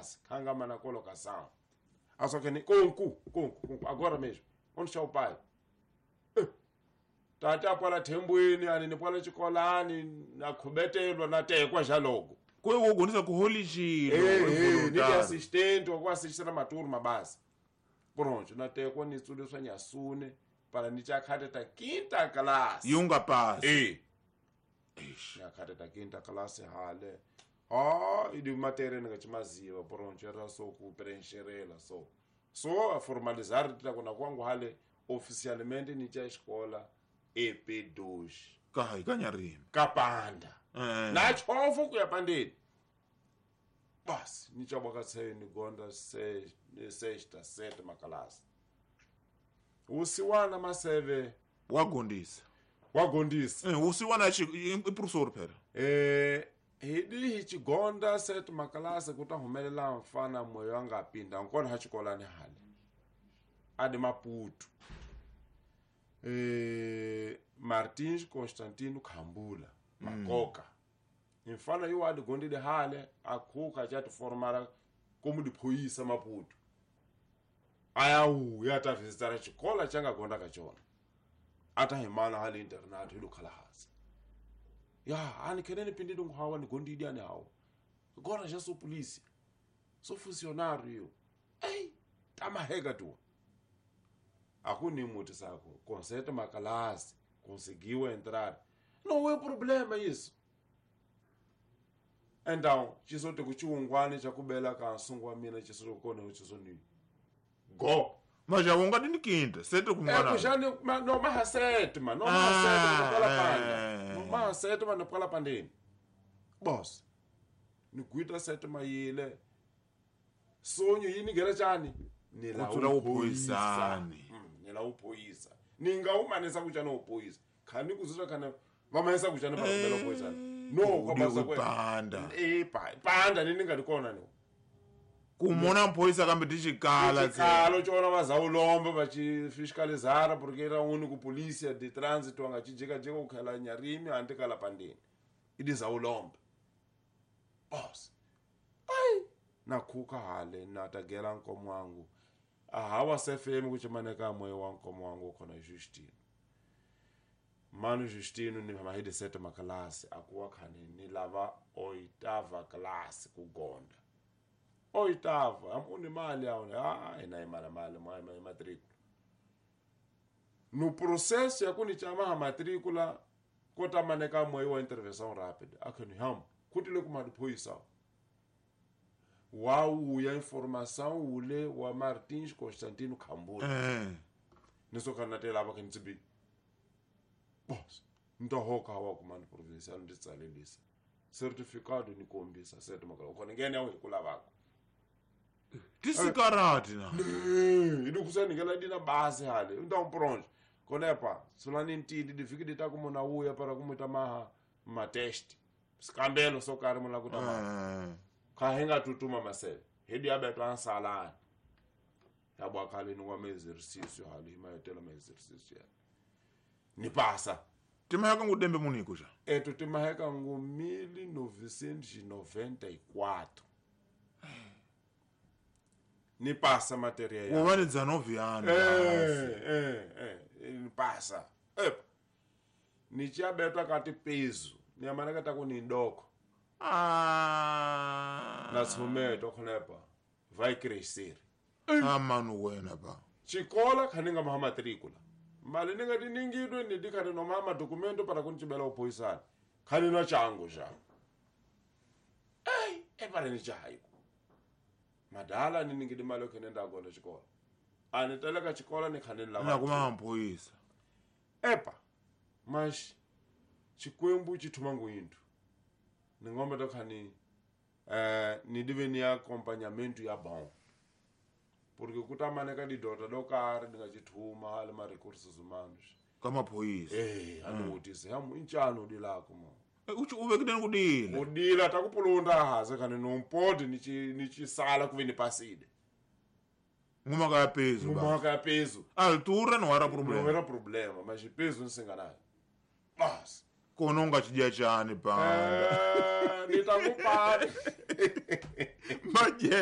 makalasi khanga mana colocação. Ah, só que ni konku, konku, konku, agora mesmo. Onde está o pai? Tata pwala thembweni ani ni pwala xikolani na khubetelwa na tekwa xa loko. Ko wo gonisa ku holixilo. Ni assistant wa ku assistera maturma basi. Pronto, na tekwa ni tsuliswa nyasune para ni chakhate ta quinta classe. Yunga pass. Eh. Eish, na ta quinta classe hale. Ah, idi matéria ni nga chimaziva pronto era so ku preencherela so. So a formalizar tita kona kwangu hale oficialmente ni cha escola EP2. Ka ikanyarimi. Kapanda. Na chofu kuya pandeni. Bas, ni cha baka se ni gonda se sexta sétima classe. Usiwana maseve wagondisa. Wagondisa. Usiwana i professor phela. Hidi hichigonda sétima classe kuta humelela mfana moyo anga pinda nkona ha xikolani hale. Ade Maputo. Martins Constantino Khambula Makoka. Mfana yo ade gondile hale akhuka cha formara como de polícia Maputo. Aya u ya ta visitar xikola changa gonda ka chona. Ata himana hale internato ilukhala hasi. Ya, ani kenene pindile nguhawa ni gondidi ani hawo. Agora já sou polícia. Sou funcionário. Ei, tamaheka tu. Akuni muti sako, concerto makalasi, conseguiu entrar. Não é problema isso. Então, chisote kuchiungwane chakubela ka nsungwa mina chisote kone chisoni. Go. Mas já unga dini quinta, sete kumwana. É, kushani no mahasétima, no mahasétima pala panda. No mahasétima no pala pandeni. Boss. Ni kuita sétima yile. Sonho yini ngera chani? Ni la upoisani. Ni la upoisa. Ninga umanesa kuchana upoisa. Khani kuzuzwa khana vamanesa kuchana pa kubela upoisani. No, kwabasa kwe. Panda. Panda nini ngalikona ni. Kumona mpoisa kambe tichikala chikalo chona vazaulombe vachifiscalizara porque era único polícia de trânsito angachijeka jeka kukhala nyarimi antikala pandeni idizaulombe boss ai nakhuka hale natagela nkomo wangu ahawa sefm kuchimaneka moyo wa nkomo wangu khona Justino mano Justino ni mahidi sete makalasi akuwa khane ni lava oitava classe kugonda oitava amuni mali aona ah ina imali mali mali matrícula no processo yakuni chama matrícula kota maneka moyo wa intervenção rápida akuni ham kutile kumadiphoyisa wau ya informação ule wa Martins Constantino Khambula nisokana tela ba kentsibi boss ntohoka wa kumando provincial nditsalelisa certificado ni kombisa sete makala khona ngene yawo hikulavako tisikarati na idukusani ngela dina base hale então pronto konepa sulani ntindi difiki ditakumona uya para kumuita maha matest skambelo sokari mona kutama kahenga tutuma masele hedi abetwa nsalani yabo akhale ni kwa exercício hali imayetela ma exercício ni passa timaheka ngudembe muniko ja eto timaheka ngu 1994 ni passa matéria ya u vale 19 anos ni passa ni chabetwa kati peso ni amaneka takuni ndoko na someto khonepa vai crescer manu wena ba xikola khaninga maha matrícula mali ni nga tiningidwe ni dikhane no mama documento para kunchibela uphoyisana khani na chango ja ai epare ni chaiko madala ni ningidi mali khene ndagona xikola ani teleka xikola ni khane la na kuma mphoyisa epa mas xikwembu xi thuma nguyindu ni ngombe to khani ni dive ni acompanhamento ya bom porque kutamaneka didota do kare ndinga chithuma hale ma recursos humanos ka maphoyisa anotise hamu inchano dilako mo uchi uvekideni kudila kudila takupulunda haze khane nompodi ni chisala kuve ni paside ngumaka ya peso ngumaka ya peso altura não era problema não era problema mas peso nisinganayo bas kona ungachidya chani panda nitakupana maje.